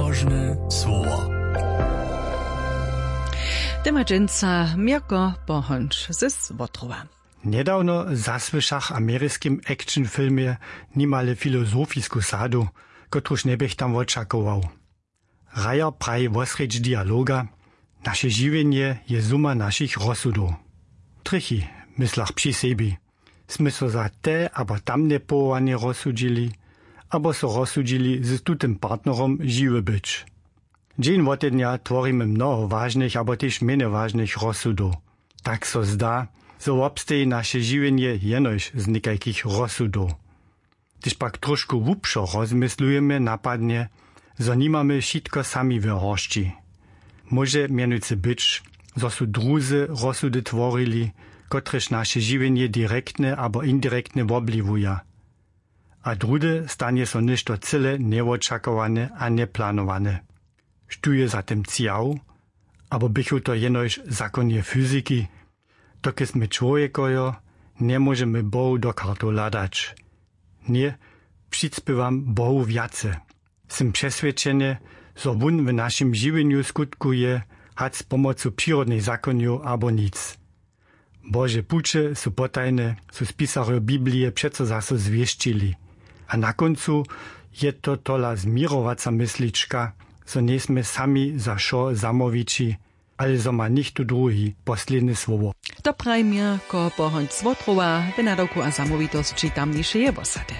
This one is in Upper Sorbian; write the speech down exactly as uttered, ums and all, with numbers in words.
Róžne słowo. Tema dźensa měrko pohonč ze złotrowa. Njedawno zasłyšach w ameriskim action filmje nimale filozofisku sadu, kotruž njeběch tam wočakował. Rajer praji wosrjedź dialoga: naše žiwjenje je zuma našich rozsudow. Trjechi, myslach při sebi, smy so za te abo tamne powołanje rozsudźili, abo so rozsudźili z tutym partnerom žiwy być. Dźeń wotednja tworimy mnoho wažnych abo tež mjenje wažnych rozsudow. Tak so zda, zo wobsteji naše žiwjenje jenož z někajkich rozsudow. Hdyž pak trošku hłubšo rozmyslujemy, napadnje, zo nimamy wšitko sami we horsći. Móže mjenujcy być, zo su druzy rozsudy tworili, kotrež naše žiwjenje direktnje abo indirektnje wobwliwuja. A druhdy stanje so něšto cyle njewočakowane a njeplanowane. Štó je za tym cjał? Abo běchu to jenož zakonje fyziki? Dokelž smy čłowjekojo, njemóžemy Bohu do kartow hladać. Ně, přispěwam Bohu wjace. Sym přeswědčeny, zo wón w našim žiwjenju skutkuje, hač z pomocu přirodnych zakonjow abo nic. Bože puće su potajne, su spisarjo Biblije přeco zaso zwěsćili. A na kóncu je to tola změrowaca myslička, zo njejsmy sami za wšo zamołwići, ale zo ma něchtó druhi posledne słowo. To praji měrko pohonč z wotrowa w nadawku a zamołwitosći tamnišeje wosady.